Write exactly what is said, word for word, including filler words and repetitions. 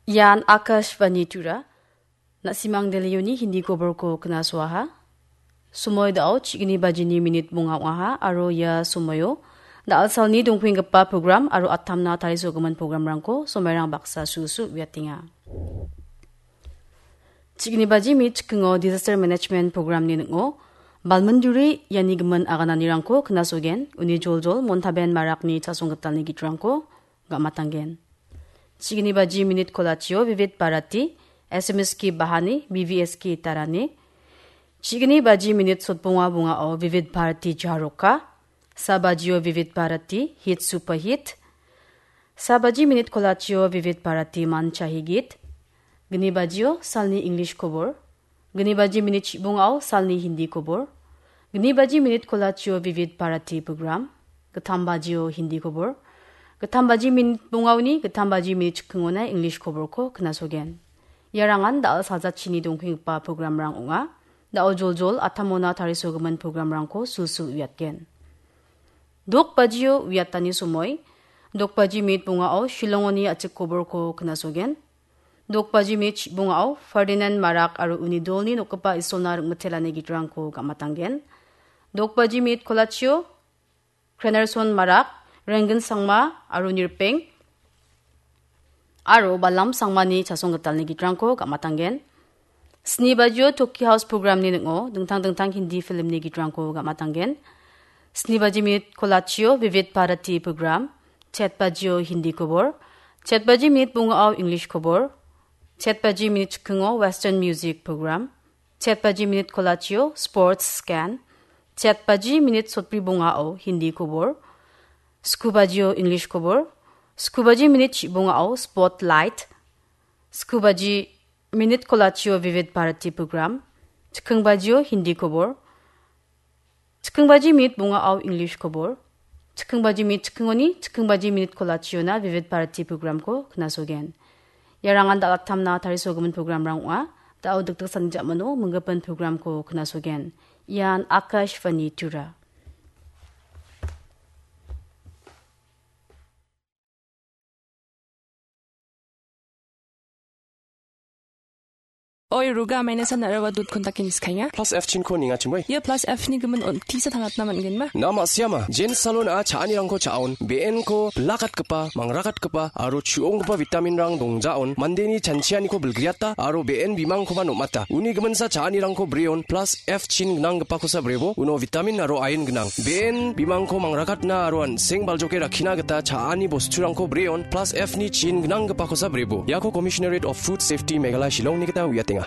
Ian Akashvani Tura. Na·simang Delhioni Hindi koborko knasoaha. Somoi dao chigni bajini minit bonga ong·aha aro ia somoio da·alsalni dongpenggipa program aro atamna tarisogimin programrangko somairang baksa sulsul uiatenga. Chigni baji minit chikingo Disaster Management Programni ning·o balminduri iani gimin agananirangko knasogen, uni joljol Montaben Marakni chasonggitalni gitrangko ga·matanggen. Chigni baji minit kolachio Vivid Bharati, S M S K Bahani, B V S K Tarani. Chigni baji minit sotbonga bongao Vivid Bharati Jaroka, sa bajio Vivid Bharati Hit Super Hit, sa baji minit kolachio Vivid Bharati Mancha Higit, gni bajio salni English kobor, gni baji minit chibongao salni Hindi kobor, gni baji minit kolachio Vivid Bharati program, gittam bajio Hindi kobor, gittam baji minit bongaoni gittam baji minit chikingona English koborko knasogen. Iarangan da·al sajachini dongpenggipa programrang ong·a. Da·o joljol atamona tarisogimin programrangko sulsul uiatgen. Dok bajio uiatani somoi, dok baji minit bongao Shillongoni a·chik koborko knasogen. Dok baji minit bongao Ferdinand Marak aro uni dolni nokgipa Isolna ring·mitelani gitrangko ga·matanggen. Dok baji minit kolachio Krenerson Marak, Renggen Sangma aro Nirpeng aro Balam Sangmani chasonggitalni gitrangko ga·matanggen. Sni bajio Toki House programni ning·o dingtang dingtang Hindi filmni gitrangko ga·matanggen. Sni baji minit kolachio Vivid Bharati program, chet bajio Hindi kobor, chet baji minit bongao English kobor, chet baji minit chikingo Western music program, chet baji minit kolachio Sports Scan, chet baji minit sotbri bongao Hindi kobor, sku bajio English kobor, sku baji minit chibongao Spotlight, sku baji minit kolachio Vivid Bharati program, chiking bajio Hindi kobor, chiking baji minit bongao English kobor, chiking baji minit chikingoni chiking baji minit kolachiona Vivid Bharati programko knasogen. Iarangan da·alaktamna tarisogimin programrang ong·a. Da·o dikdiksani ja·mano minggipin programko knasogen. Ian Akashvani Tura. Oi, Ruga, maina san narawa dot kontak ini skanya. Plus F chinko ninga chimoi. Ia plus F ni gimin on tisa tangatna man gen ma? Na ma siama, Jen Salon a cha·anirangko cha·on, B N ko blakat gipa, mangrakatgipa, aro chu·onggipa vitamin rang dongjaon, mandeni chanchianiko bilgriata, aro B N bimangkoba nomata. Uni giminsa cha·anirangko breon, plus F chin gnanggipakosa brebo, uno vitamin aro iron gnang. B N bimangko mangrakatna aro an·seng baljoke rakkina gita cha·ani bosturangko breon, plus F ni chin gnanggipakosa brebo. Iako Commissionerate of Food Safety Meghalaya Shillong ni gita uiatenga.